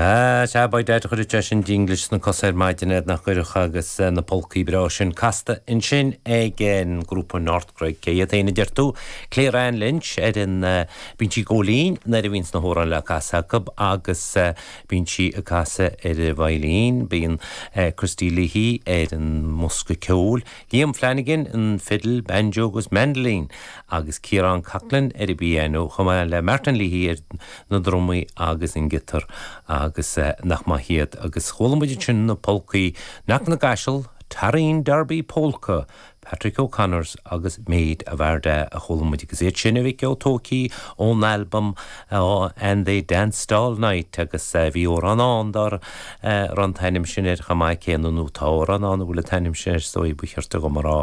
Ah, sea, beidh Daid a chuirfeadh seisean dinglis sna cosa ar maidin air nach gcuirfeadh agus na polcaí breá sin casta ansin ag an ngrúpa North Cregg. Cé hiad féin a deir tú? Claire Ann Lynch ar an, bíonn sí ag gabháil fhoinn nuair a bhíonns na hamhráin le casadh acu agus bíonn sí ag casadh ar an veidhlín, bíonn Christy Leahy ar an mbosca ceoil, Liam Flanagan an fidil, banjo agus mandolin agus Ciarán Coughlan ar an bpianó chomh maith le Martin Leahy ar na drumaí agus an giotar agus nach maith iad agus chuala muid ansin na polcaí Knock na gCaiseal, Tareen Derby Polka, Patrick O'Connors agus Maid of Ardagh a chuala muid agus iad sin a mhic ó tógtha ón albam And They Danced All Night agus bhí amhrán ann dá raibh an t-ainm sin air chomh maith céanna, nó tá amhrán ann a bhfuil an t-ainm sin air is dóigh, ba cheart dhom a rá.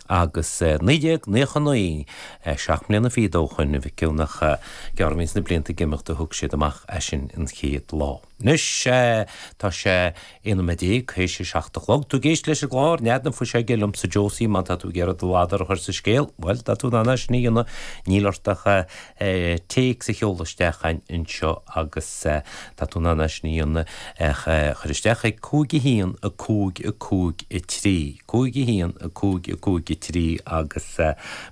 Agus 1999, seacht mbliana fichead ó shoin, a mhic ó nach gearr a bhíonns na blianta ag imeacht a thug siad amach é sin an chéad lá. Anois, tá sé 11 nóiméad théis a 7 a chlog. Tú ag éisteacht leis an gclár, Nead na Fuiseoige, liomsa Josie, má tá tú ag iarraidh do ladar a chur sa scéal, bhuel, tá tú in ann é sin a dhéanamh, níl ort ach téacs a sheoladh isteach chugainn anseo agus tá tú in ann é sin a dhéanamh, cuir isteach ag 5 1 5 5 3, 5 1 5 5 3 agus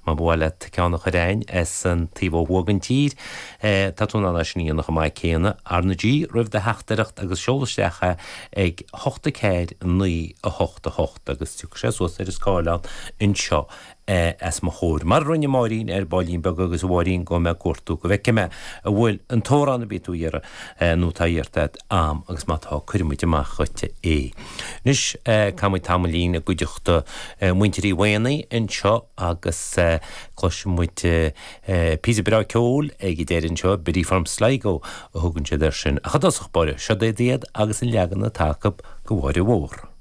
má ba mhaith leat ceann a chur chugainn as an taobh ó thuaidh den tír, Tá tú in ann é sin a dhéanamh chomh maith céanna. R na G roimh do theachtaireacht agus seol isteach é ag 8 4 9 8 8 agus tiocfaidh sé suas ar an scáileán anseo os mo chomhair. Mar a rinne Máirín ar baillín beag agus a Mháirín gabhfaidh mé ag cuartú go bhfeicfidh mé an bhfuil an t-amhrán a bhí tú a iarraidh nó atá iarrta agat a'm agus má tá cuirfidh muid amach dhuit é. Anois caithfidh muid tamaillín i gcuideachta muintir Uí Mhaonaigh anseo agus cloisfidh muid Píosa breá ceoil ag an deireadh anseo, Biddy from Sligo a thugann siad air sin. Ach i dtosach báire, seo iad agus an leagan atá acu de Mháire Mhór.